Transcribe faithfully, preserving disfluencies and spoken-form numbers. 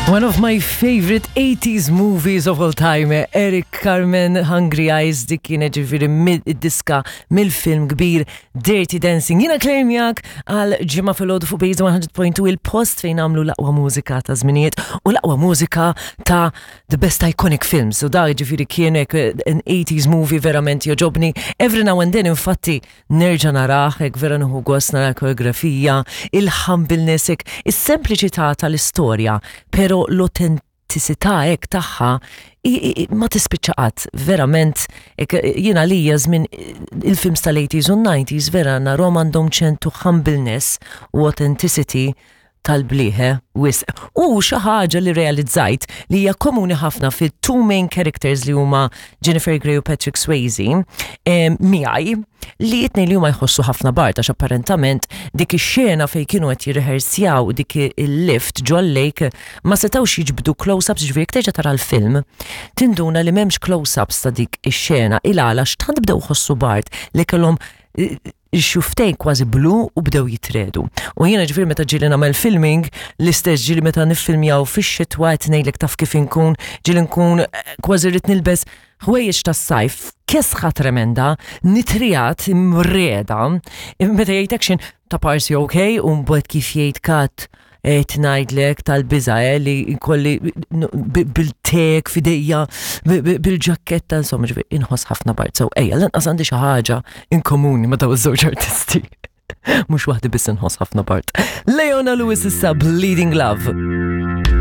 One of my favorite eighties movies of all time, Eric Carmen, Hungry Eyes, dik kienet ġifieri mid-diska mill-film kbir Dirty Dancing. Jiena Claire miegħek għal Ġimgħa filgħodu fuq Base one hundred point two, il-post fejn għamlu l-aqwa mużika ta' żminijiet u l-aqwa mużika ta' the best iconic films. U da ġifieri kienek an eighties movie, verament jogħġobni. Every now and then, infatti, nerġa' narah, hekk vera nieħu gost nara koreografija, il-humbleness, hekk, is-sempliċità tal-istorja, pero l-autenticità hekk tagħha i- i- ma tispiċċa qatt, verament, hekk, jiena lija żmien il-films tal-eighties u nineties vera narahom għandhom ċertu humbleness u authenticity tal-bliħe wisq. U xi ħaġa li realizzajt li hija komuni ħafna fit two main characters li huma Jennifer Grey u Patrick Swayze em, miegħi li it-tnejn li huma jħossu ħafna bard, għax apparentament dik ix-xena fejn kienu qed jirrehearsjaw dik il-lift ġol lake ma setgħux jiġbdu close-ups. Ġifieri jekk terġa' tara l-film tinduna li m'hemmx close-ups ta' dik ix-xena il għala x'tant bdew ħossu bard li kellhom eh, xuftejn kważi blu u bdew jitriegħdu. U jiena ġifieri meta ġieli nagħmel filming, l-istess ġieli meta niffilmjaw fix-xitwa, qed ngħidlek taf kif inkun, ġieli nkun eh, kważi rrid nilbes ħwejjeġ tas-sajf, kesħa tremenda, nitriegħed imriegħda, meta jgħid "action" ta' parsi ok, u mbagħad kif jgħid "cut", qed ngħidlek tal-biża eh, li kolli bil-tek f'idejja, bil-ġaketta, insomma, ġifieri inħoss ħafna bard. So ejja, lanqas għandi xi ħaġa in komuni ma' daw iż-żewġ artisti. Mhux waħdi biss inħoss ħafna bard. Leona Lewis issa, Bleeding Love.